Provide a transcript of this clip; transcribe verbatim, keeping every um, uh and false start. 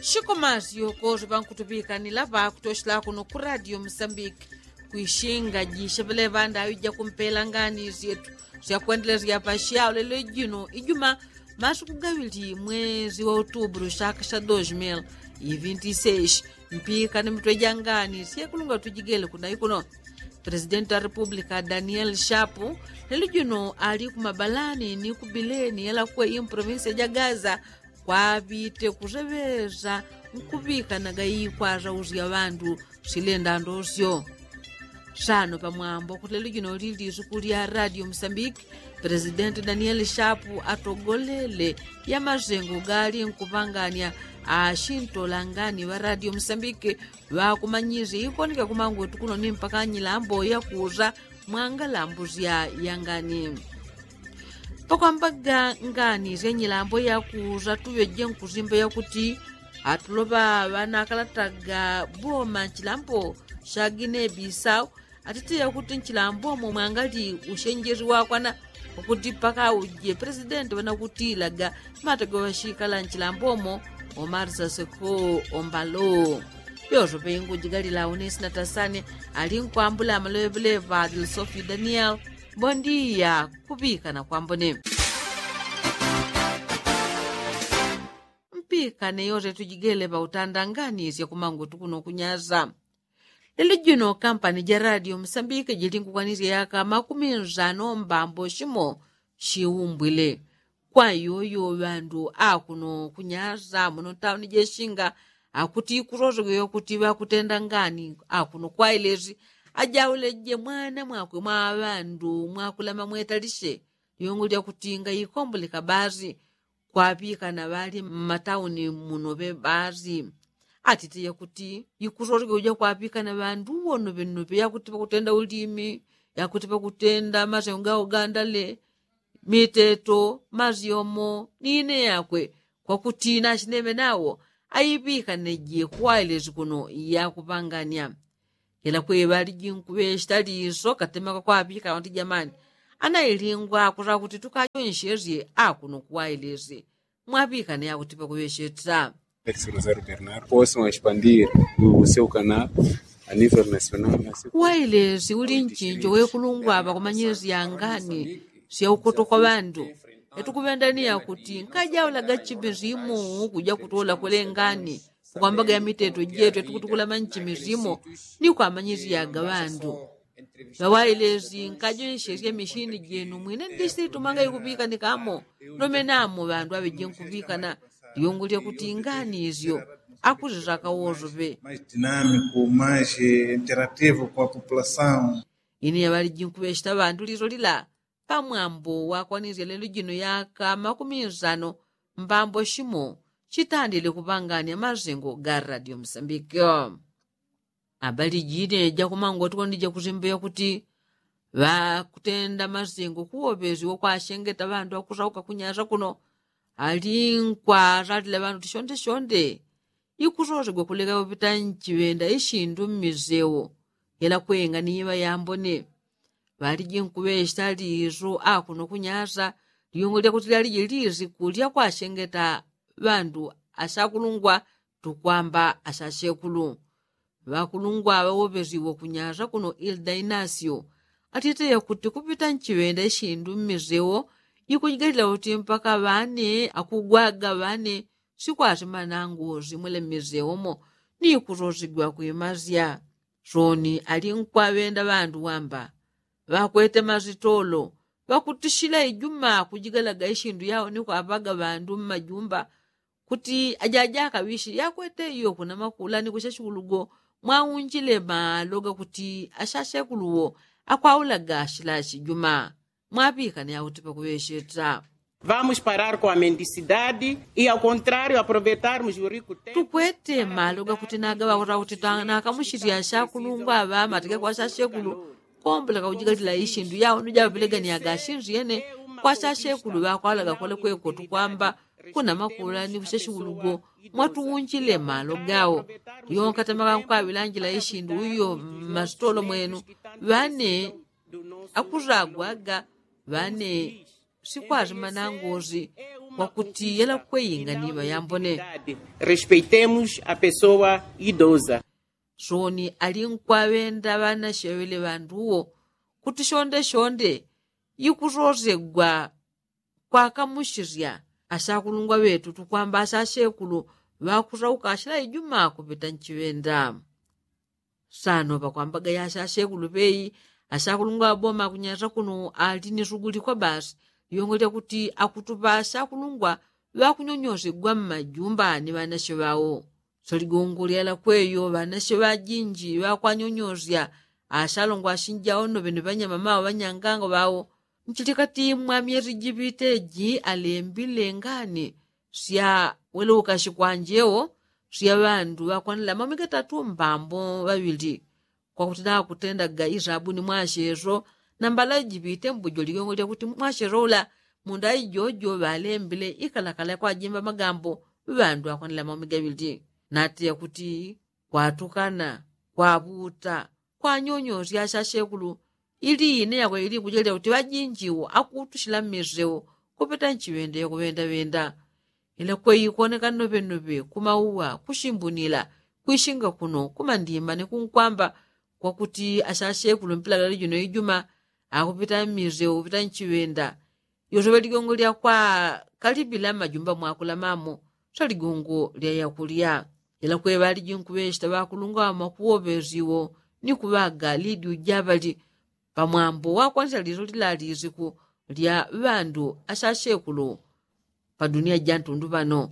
Shikomazi yokozi ŵankutuŵikanila ŵakutoshela kuno ku radio musambiki, kwishinga jisheŵele ŵandaŵi jakumpela ngani syetu syakwendelesya pasyawo lelo jino ijuma masuku gaŵili mwezi wa utubulu shaka sha dos mil ivinti seshi. Mpikane mitwe jangani syekulunga tujigele kunayi kuno. Presidenti wa republika daniel shapu lelo jino ali kumabalani ni kubileni yalakwe improvinsi ja gaza, kwaŵite kuseŵeza nkuŵikanaga ikwaza usya ŵandu silenda ndosyo. Sano pamwambo kuti lelo jino lili lisuku lya radio musambiki, presidenti daniel shapu atogolele yamasengo gali nkupanganya ashintolangani ŵa radio musambiki ŵakumanyisye ikoneka kumangwetu kuno ni mpaka nyilambo yakusa mwangalambusya yangani. Pakwambaga ngani sya nyilambo yakusa tuŵeje nkusimba yakuti atuloŵa ŵanakalataga boma nchilambo sha ginebi sau atite yakuti nchilambo mo mwangali ushenjesi wakwana, ukuti paka uje presidenti ŵanakutilaga matoge ŵashikala nchilambo mo. Omarisa seko ombalo yoso pengu jigalila unesina tasane ali nkwambula amaloŵeleŵa dilsofi daniel. Bondiya kuŵikana kwambone. Mpikane yose tujigele ŵautandanganisye kumangutu kuno kunyasa. Lelo jino kampani ja radio musambike jili nkukwanisya yaka makumi nsano mbambo shimo shiumbwile. Kwa yoyo ŵandu akuno kunyasa muno tauni jeshinga akuti ikusosogwe yokuti ŵakutenda ngani akuno kwailesi ajauleje mwana mwakwe mwa ŵandu mwakulama mwetalishe. Lyongo lyakuti ngaikomboleka basi kwaŵikana ŵali mmatauni muno ŵe basi. Atite yakuti ikusosogwe uja kwaŵikana ŵandu uwo noŵenoŵe yakuti ŵakutenda ulimi yakuti ŵakutenda masengo gaugandale miteto masyomo ni ine yakwe kwakuti nashineŵe nawo aiŵikaneje kuwailesi kuno yakuŵanganya. Yela kwe ŵalijinkuŵeshita liso katemaka kwaŵikana kuti jamani anailingwa akusa kuti tukajonshesye akuno kuwailesi mwaŵikane yakuti pakuŵesheta. Rosario Bernardo posi mwaishipandir useukana a nivel nasional. Wailesi uli nchinjo wekulungwa ŵakumanyisya ngani syaukoto kwa ŵandu. Yatukuŵendaniya kuti nkajaulaga chimisimu kuja kutola kwelengani ukwambaga ya miteto jetu yatukutukulama nchimisimu ni kwamanyisyaga ŵandu. Ŵawailesi nkajonshesye mishini jenu mwine ndisitumanga ikuŵikanikamo. Nomenamo ŵandu aŵeje nkuŵikana. Lyungu lyakuti ngani isyo akusisaka wosoŵe. Mais dinamico mais interativo kwa populasaun. Ine yaŵaliji nkuŵeshita ŵandu liso lila pamwambo wakwanisya lelo jino yaka makumi nsano mbambo shimo shitandile kuŵanganya masengo ga radio musambike. Abali jine jakumangwa tukondi jakusimba yakuti ŵakutenda masengo kuwoŵesi wokwashengeta ŵandu akusauka kunyasa kuno ali nkwasalila ŵandu tishondeshonde. Ikusosegwa kuleka kupita nchiŵenda ishindu mmisewo yela kwenga ni iŵa yambone. Ŵaliji nkuŵeshita liso akuno kunyasa lyungu lyakuti lyaliji lisiku lyakwashengeta ŵandu ashakulungwa tukwamba ashashekulu. Ŵakulungwa ŵawoŵesiwe kunyasa kuno ilda inasio atite yakuti kupita nchiŵenda ishindu mmisewo ikujigalila kuti mpaka ŵane akugwaga ŵane sikwasima nangosi mwele mmisewo mo ni kusosigwa kwimasya. Soni ali nkwaŵenda ŵandu wamba ŵakwete masitolo ŵakutishila ijuma kujigalaga ishindu yao ni kwaŵaga ŵandu mmajumba kuti ajajaka ŵishi yakwete iyo kuna makula ni kushashikulugo mwaunjile malo gakuti ashashekuluwo akwaulaga shilashi juma. Mwaŵikane yakuti pakuŵesheta. Vamos parar com a mendicidade e ao contrário aproveitarmos o rico tempo. Tukwete malo gakuti nagaŵakota kuti nakamushilya shakulungwa aŵa matike kwa shashekulu komboleka kujigalila ishindu yao ni jaŵaŵeleganiaga ashindu yene kwa shashekulu ŵakwalaga kwele kweko tukwamba kuna makula ni kushashikulugo mwatuunjile malo gao. Yonka temaka nkwaŵilanjila ishindu uyo mmasitolo mwenu ŵane akusagwaga ŵane sikwasima nangosi. Kwakuti yela kweyinga ni ŵayambone. Respeitemos a pessoa idosa. Soni ali nkwaŵenda ŵanashe ŵele ŵanduwo kuti shonde shonde yikusosegwa kwakamushisya ashakulungwa ŵetu tukwamba ashashekulu ŵakusauka ashila ijuma kupita nchiŵenda. Sano pakwambaga yashashekulu ŵeyi ashakulungwa ŵaboma kunyasa kuno ali ni suguli kwa basi. Lyongo lyakuti akutupa ashakulungwa ŵakunyonyosegwa mmajumba ni ŵanashe ŵao. Saligongo lyalakweyo ŵanashe ŵajinji ŵakwanyonyosya ashalongwa ashinjao noŵene ŵanyamama ŵanyanganga ŵao. Nchilikati mwa myesi jipite ji alembile ngani sya wele ukashi kwanjeo sya ŵandu ŵakwanila maumi gatatu mbambo ŵaŵili. Kwakuti nakutendaga isabuni mwasheso nambala jipite mbujo ligongo lyakuti mwasheso ula munda ijojo ŵalembile ikalakala kwajimba magambo ŵandu ŵakwanila maumi gaŵili. Nati yakuti kwatukana kwaŵuta kwanyonyosya ashashekulu ili ine yakwe ili kujelya kuti ŵajinjiwo akutushila mmiseu kupita nchiŵenda yakuŵendaŵenda. Ila kweyi kwoneka noŵenoŵe kumauwa kushimbunila kwishinga kuno kumandimba ni kunkwamba kwakuti ashashekulu mpilagala jino ijuma akupita mmiseu kupita nchiŵenda. Yoseŵe ligongo lyakwa kalibila mmajumba mwakulamamo saligongo lya yakulya. Ila kweŵaliji nkuŵeshita ŵakulungwa ŵamakuwoŵesiwo ni kuŵaga lidyu jaŵali pamwambo wakwanisa liso lila lisiku lya ŵandu ashashekulu. Padunia jantundu ŵano